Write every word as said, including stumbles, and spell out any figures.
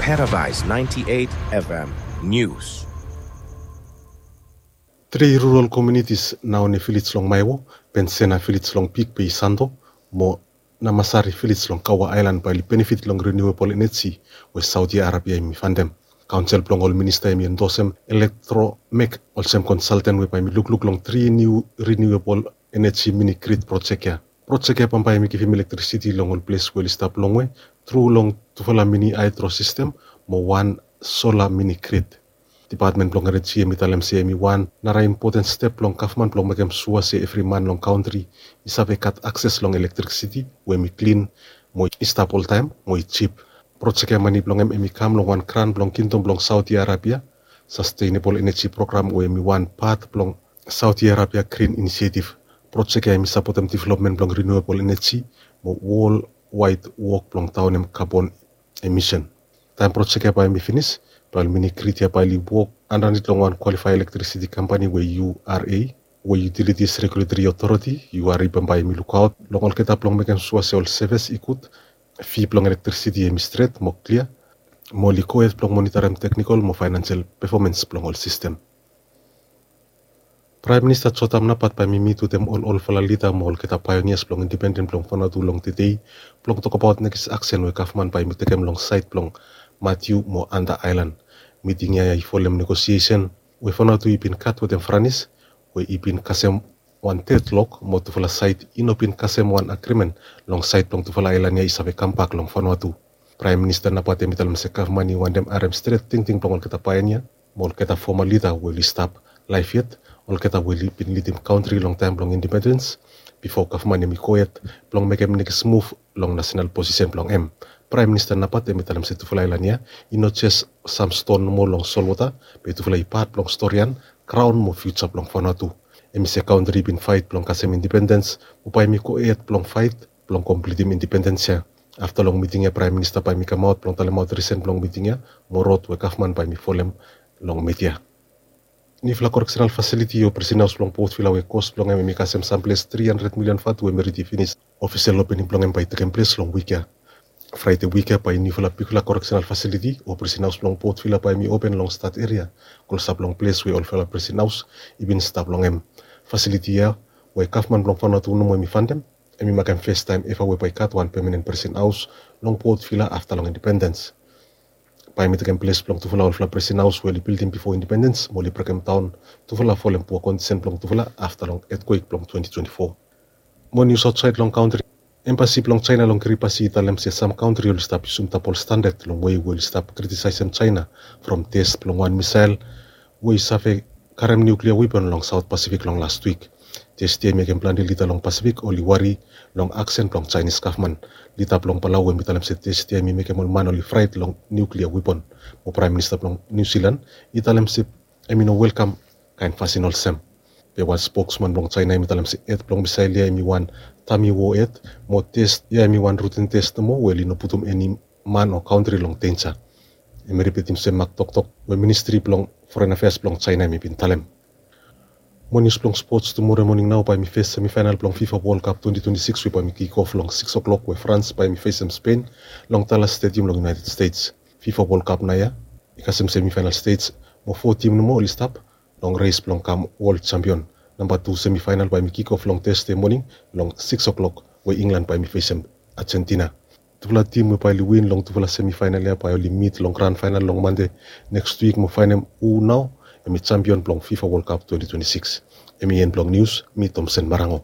Paradise ninety-eight F M News. Tri rural communities, Naone Village long Maewo, Pensena Village long Big Bay Santo, mo Namasari Village long Kawa Aelan bae oli benefit long renewable energy we Saudi Arabia hemi fandem. Kaonsel blong ol minista hemi endosem Electromech olsem konsalten we bae hemi lukluk long tri niu renewable energy mini grid projek ya. Projek ya bambae hemi givim elektrisiti long ol ples we oli stap longwe tru long tufala mini hydro sistem mo wan sola mini grid. Dipatmen blong eneji hemi talem se hemi wan nara impoten step blong gavman blong mekem sua se evri man long kantri i save gat akses long elektrisiti we hemi klin mo i stap oltaem mo i jip. Projek ya mane blong hem hemi kam long wan gran blong Kingdom blong Saudi Arabia Sustainable Energy Program we hemi wan pat blong Saudi Arabia Green Initiative. Projek ya hemi sapotem developmen blong renewable energy mo worldwide wok blong daonem kabon emisen. Taem projek ya bae hemi finis, bae ol mini grid ya bae oli wok andanit long wan kwalifae elektrisiti kampani we U R A, we Utilities Regulatory Authority, U R A, bambae hemi lukaot long olgeta blong mekem sua se ol sevis i gud, fi blong elektrisiti hemi stret mo klia, mo oli gohed blong monitarem teknikol mo faenansel pefomens blong ol sistem. Praem Minista Jotam Napat bae hemi mit wetem ol olfala lida mo olgeta paeonias blong independen blong Vanuatu long tedei blong tokbaot nekis aksen we gavman bae hemi tekem long saed blong Matiu mo Anta Aelan. Miting ya i folem negosiesen we Vanuatu i bin gat wetem Franis, we i bin kasem wan dedlok mo tufala saed i no bin kasem wan agrimen long saed blong tufala aelan ya i save kambak long Vanuatu. Praem Minista Napat hemi talem se gavman i wantem harem stret tingting blong olgeta paeonia mo olgeta foma lida we oli stap laef yet, olgeta we oli bin lidim kantri long taem blong independens, bifo gavman hemi gohed blong mekem nekis muv long nasenal posisen blong hem. Praem Minista Napat hemi talem se tufala aelan ya i no jes sam ston nomo long solwota, be tufala i pat blong storian, graon mo fiuja blong Vanuatu. Hemi se kantri i bin faet blong kasem independens, mo bae hemi gohed blong faet blong komplitim independens ya. Afta long miting ya, Praem Minista bae hemi kamaot blong talemaot risen blong miting ya mo rod we gavman bae hemi folem long midia. Niufala koreksenal fasiliti o prisen haos blong Port Vila we kos blong hem hemi kasem samples tri handred milian vatu hemi redi finis. Ofisel opening blong hem bae i tekem ples long wik ya. Fraede wik ya bae niufala bigfala koreksenal fasiliti o prisen haos blong Port Vila bae hemi open long stat eria, klosap long ples we olfala prisen haos i bin stap long hem. Fasiliti ya we gavman blong Vanuatu nomo hemi fandem, hemi makem festaem eva we bae i gat wan pemanen prisen haos long Port Vila afta long independens. Bae hemi tekem ples blong tufala olfala prisen haos we oli bildim bifo independens mo oli brekemdaon tufala folem pua kondisen blong tufala afta long etkwek blong twenti twenti fo. Mo nius aotsaed long kantri. Embasi blong Jaena long Kiribati i talem se sam kantri oli stap yusum dabol standad long wei we oli stap kritisaesem Jaena from tes blong wan misael we i save karem niuklia wepon long Saot Pasifik long las wik. Tes ya i mekem plante lida long Pasifik oli wari long aksen blong Jaenis gavman. Lida blong Palau hemi talem se tes ya hemi mekem ol man oli fraet long niuklia wepon. Mo Praem Minista blong Niu Silan i talem se hemi no welkam kaen fasin olsem. Be wan spoksman blong Jaena hemi talem se hed blong misael ya hemi wan dami wo hed, mo tes ya hemi wan rutin tes nomo we oli no putum eni man o kantri long denja. Hemi ripitim sem mak toktok we Ministri blong Foren Afeas blong Jaena hemi bin talem. Mo nius blong spots, tumore moning nao bae hemi fes semifaenal blong FIFA World Cup twenti twenti sikis we bae hemi kikof long sikis oklok we Frans bae hemi fesem Spen long Dallas Stadium long United States. FIFA World Cup naoia i kasem semifaenal stej mo fo tim nomo oli stap long res blong kam wol jampion. Namba tu semifaenal bae hemi kikof long Tasde moning long sikis oklok we Inglan bae hemi fesem Ajentina. Tufala tim we bae oli win long tufala semifaenal ya bae oli mit long gran faenal long Mande neks wik mo faenem hu nao hemi jampion blong FIFA World Cup twenti twenti sikis. Hemi en blong nius. Mi Tomsen Marango.